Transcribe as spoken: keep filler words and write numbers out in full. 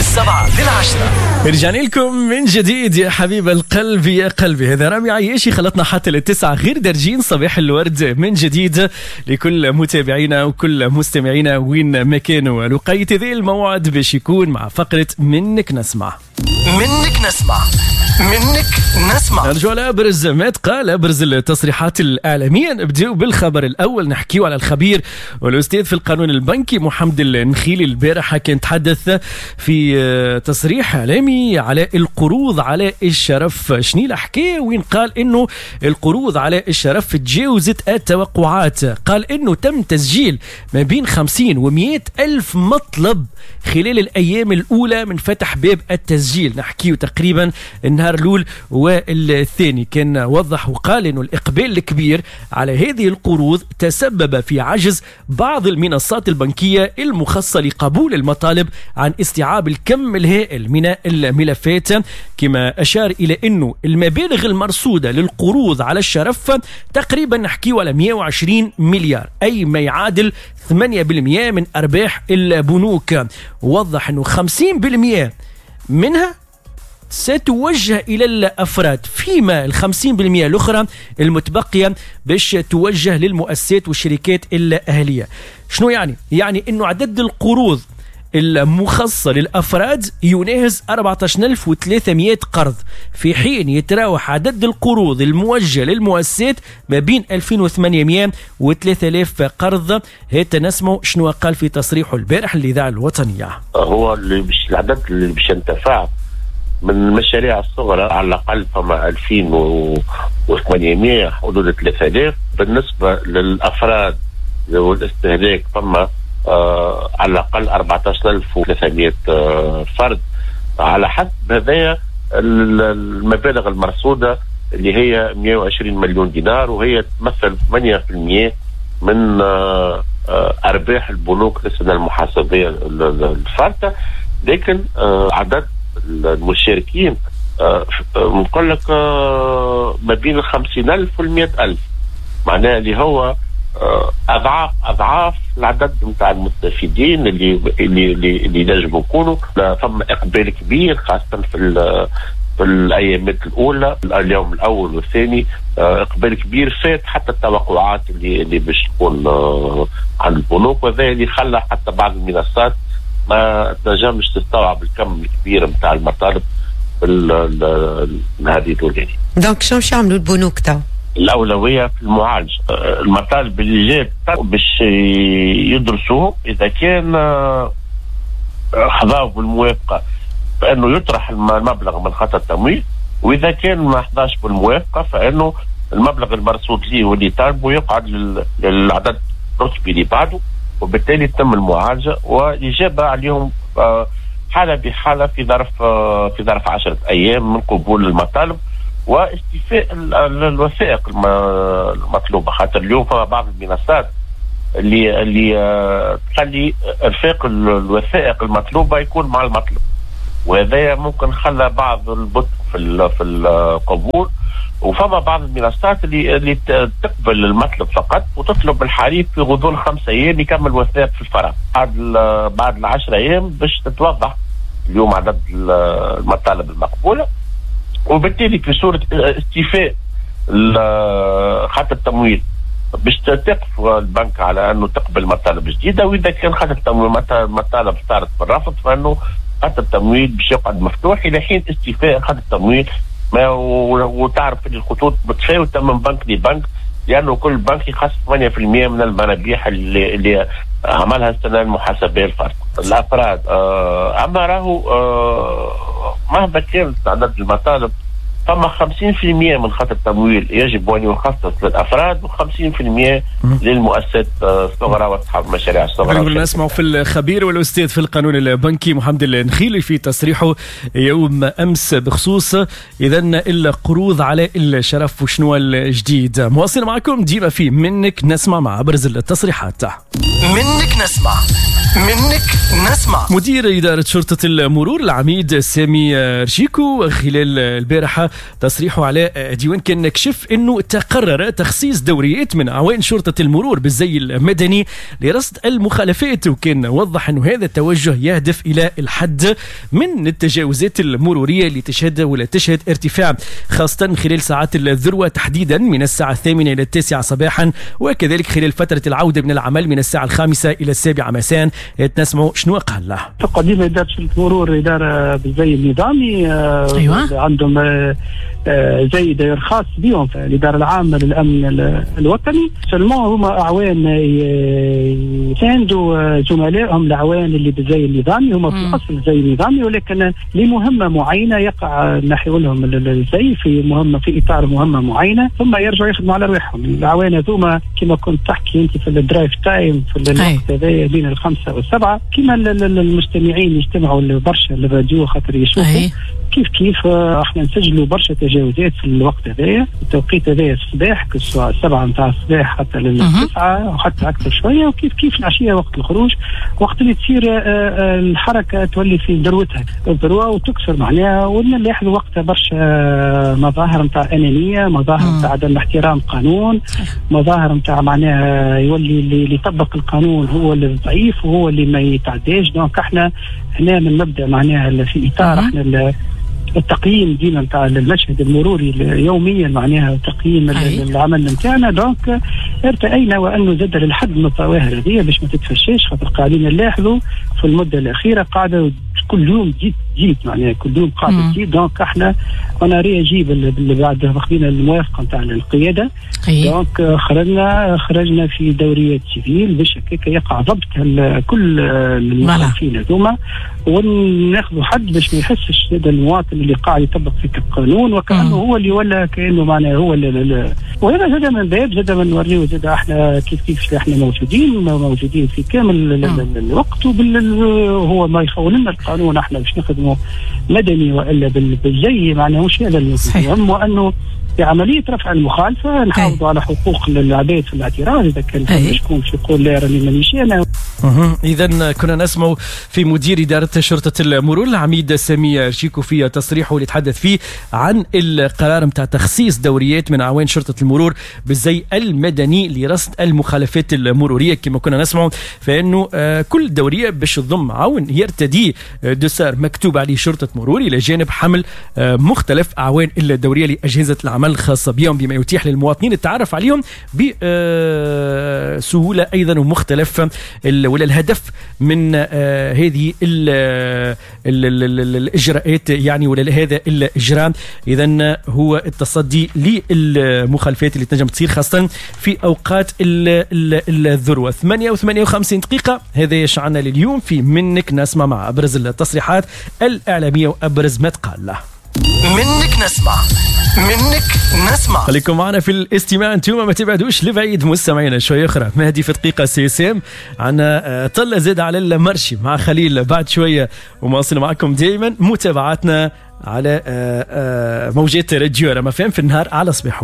السبعة للعشرة. رجعنا لكم من جديد يا حبيب القلب يا قلبي. هذا رامي عياشي، خلطنا حتى للتسعة غير درجين. صباح الورد من جديد لكل متابعينا وكل مستمعينا وين ما كانوا. الوقيت ذي الموعد باش يكون مع فقرة منك نسمع. منك نسمع، منك نسمع. نرجع على أبرز ما تقال، أبرز التصريحات الإعلامية. نبدأ بالخبر الأول، نحكيو على الخبير والأستاذ في القانون البنكي محمد النخيلي. البارحة كان تحدث في تصريح إعلامي على القروض على الشرف. شنو الحكاية؟ وين قال إنه القروض على الشرف تجاوزت التوقعات. قال إنه تم تسجيل ما بين خمسين ومئة ألف مطلب خلال الأيام الأولى من فتح باب التسجيل. نحكيو تقريبا النهار الأول والثاني. كان وضح وقال إنه الإقبال الكبير على هذه القروض تسبب في عجز بعض المنصات البنكية المخصصة لقبول المطالب عن استيعاب الكم الهائل من الملفات. كما أشار إلى أنه المبالغ المرصودة للقروض على الشرف تقريبا نحكيو على مئة وعشرين مليار، أي ما يعادل ثمانية بالمئة من أرباح البنوك. وضح أنه خمسين بالمئة منها ستوجه إلى الأفراد، فيما الخمسين بالمئة الأخرى المتبقية باش توجه للمؤسسات والشركات الأهلية. شنو يعني؟ يعني أنه عدد القروض المخصصة للأفراد يناهز أربعة عشر ألف وثلاثمئة قرض، في حين يتراوح عدد القروض الموجهة للمؤسسات ما بين ألفين وثمانمئة و ثلاثة آلاف قرض. هات نسمع شنو قال في تصريحه البارح للإذاعة الوطنية. هو اللي بش العدد اللي باش ينتفع من المشاريع الصغرى على الأقل فما ألفين وثمانمئة حدود ثلاثة آلاف. بالنسبة للأفراد والاستهلاك فما آه على الأقل أربعة عشر ألف وثلاثمئة آه فرد، على حسب هذايا المبالغ المرصودة اللي هي مئة وعشرين مليون دينار، وهي تمثل ثمانية بالمئة من آه آه أرباح البنوك للسنة المحاسبية الفارطة. لكن آه عدد المشاركين آه نقول لك آه ما بين الخمسين ألف والمئة ألف، معناها اللي هو اضعاف اضعاف العدد نتاع المستفيدين اللي اللي اللي ينجموا يكونوا. فما اقبال كبير خاصة في في الايامات الاولى، اليوم الاول والثاني، اقبال كبير فات حتى التوقعات اللي اللي باش تكون عند البنوك، وهذا اللي خلى حتى بعض المنصات ما تنجمش تستوعب الكم الكبير نتاع المطالب في هذه الاولانية. donc شنو باش يعملوا البنوك تو؟ الأولوية في المعالجة المطالب اللي جات باش يدرسوه، إذا كان حظاو بالموافقة فإنه يطرح المبلغ من خطر التمويل، وإذا كان ما حظاش بالموافقة فإنه المبلغ المرصود ليه واللي طالبه يقعد للعدد الرتبي اللي بعده، وبالتالي تتم المعالجة والإجابة عليهم حالة بحالة في ظرف في ظرف عشرة أيام من قبول المطالب واستيفاء الوثائق المطلوبة. خاطر اليوم فما بعض المنصات اللي اللي تخلي ارفاق الوثائق المطلوبة يكون مع المطلوب، وهذا ممكن خلى بعض البطء في في القبول. وفما بعض المنصات اللي اللي تقبل المطلب فقط وتطلب الحريف في غضون خمسة ايام يكمل وثائق في الفرع، بعد بعد العشرة ايام باش تتوضح اليوم عدد المطالب المقبولة، وبالتالي في صورة استيفاء خط التمويل باش تقف البنك على انه تقبل مطالب جديدة، واذا كان خط التمويل مطالب صارت بالرفض فانه خط التمويل باش يقعد مفتوح الى حين استيفاء خط التمويل. ما وتعرف ان الخطوط متفاوتة من بنك لبنك، لانه كل بنك يخصص ثمانية بالمئة من المرابيح اللي, اللي عملها السنة المحاسبيه الفرد الافراد. اما راهو مهما كانت عدد المطالب فما خمسين بالمئة من خط التمويل يجب ان يخصص للافراد وخمسين بالمئة للمؤسسات الصغرى واصحاب المشاريع الصغرى. نسمع في الخبير والاستاذ في القانون البنكي محمد النخيلي في تصريحه يوم امس بخصوص اذا القروض على الشرف وشنو الجديد. مواصل معكم ديما في منك نسمع مع ابرز التصريحات. منك نسمع، منك نسمع. مدير إدارة شرطة المرور العميد سامي رشيكو خلال البارحة تصريحه على ديوان كان كشف أنه تقرر تخصيص دوريات من أعوان شرطة المرور بالزي المدني لرصد المخالفات، وكان وضح أنه هذا التوجه يهدف إلى الحد من التجاوزات المرورية اللي تشهد ولا تشهد ارتفاع خاصة خلال ساعات الذروة تحديدا من الساعة الثامنة إلى التاسعة صباحا، وكذلك خلال فترة العودة من العمل من الساعة الخامسة إلى السابعة مساء. نسمعوا شنو قال له. تقديم إدارة المرور إدارة بالزي النظامي، أيوة. عندهم زي داير خاص بهم في الإدارة العامة للأمن الوطني، seulement هما أعوان يساندوا زملائهم الأعوان اللي بالزي النظامي، هما في الأصل زي النظامي ولكن لمهمة معينة يقع نحو لهم الزي في مهمة في إطار مهمة معينة، ثم يرجعوا يخدموا على رواحهم. الأعوان هذوما كما كنت تحكي أنت في ال drive time في الوقت هذا بين الخمسة والسبعة، كما المستمعين يجتمعوا برشا للراديو خاطر يشوفوا كيف كيف احنا نسجلوا برشا تجاوزات في الوقت هذايا، التوقيت هذايا الصباح كسوا السبعة نتاع الصباح حتى للتسعة وحتى أكثر شوية، وكيف كيف العشية وقت الخروج، وقت اللي تصير الحركة تولي في ذروتها الذروة وتكسر معناها، ونلاحظ وقتها برشا مظاهر نتاع أنانية، مظاهر نتاع عدم احترام قانون، مظاهر نتاع معناها يولي اللي يطبق القانون هو اللي ضعيف وهو اللي ما يتعداش. donc احنا هنا من مبدأ معناها في إطار احنا التقييم ديما نتاع المشهد المروري يوميا معناها تقييم العمل نتاعنا. donc ارتأينا وانه زاد للحد من الظواهر هذه باش ما تتفشاش، خاطر قاعدين نلاحظوا في المدة الاخيرة قاعدة كل يوم تزيد تزيد معناها كل يوم قاعدة تزيد. donc احنا on a réagi بعد ما خذينا الموافقة نتاع القيادة، donc خرجنا خرجنا في دوريات civil باش هكاك يقع ضبط كل المخالفين هذوما وناخذوا حد باش ما يحسش هذا المواطن اللي قاعد يطبق في القانون وكانه هو اللي ولا كانه معناه هو اللي. وهذا زاد من باب زاد من نوريو زاد احنا كيف كيف احنا موجودين موجودين في كامل الوقت، وهو ما يخول لنا القانون احنا باش نخدموا مدني والا بالزي معناه مش هذا المهم، وانه في عملية رفع المخالفة نحافظوا على حقوق العباد في الاعتراض إذا كان شكون باش يقول لا راني مانيش أنا. إذا كنا نسمع في مدير إدارة شرطة المرور العميد سامي شيكو في تصريحه اللي تحدث فيه عن القرار متاع تخصيص دوريات من أعوان شرطة المرور بالزي المدني لرصد المخالفات المرورية. كما كنا نسمع فإنه كل دورية باش تضم عون يرتدي dossard مكتوب عليه شرطة مرور إلى جانب حمل مختلف أعوان الدورية لأجهزة العمل الخاصة بهم، بما يتيح للمواطنين التعرف عليهم بسهولة أيضا. ومختلف ولا الهدف من هذه ال ال ال الإجراءات يعني ولا هذا الإجراء إذن هو التصدي للمخالفات اللي تنجم تصير خاصة في أوقات الذروة. ثمانية وثمانية وخمسين دقيقة هذا يشعنا لليوم في منك نسمع مع أبرز التصريحات الإعلامية وأبرز ما تقال له. منك نسمع، منك نسمع. خليكم معنا في الاستماع انتم ما تبعدوش لبعيد مستمعينا. شوية اخرى مهدي في دقيقة سي اس ام عنا طلة زاد على ال marché مع خليل بعد شوية، ومواصل معكم دائما متابعتنا على موجات راديو رما فام في النهار على صباح.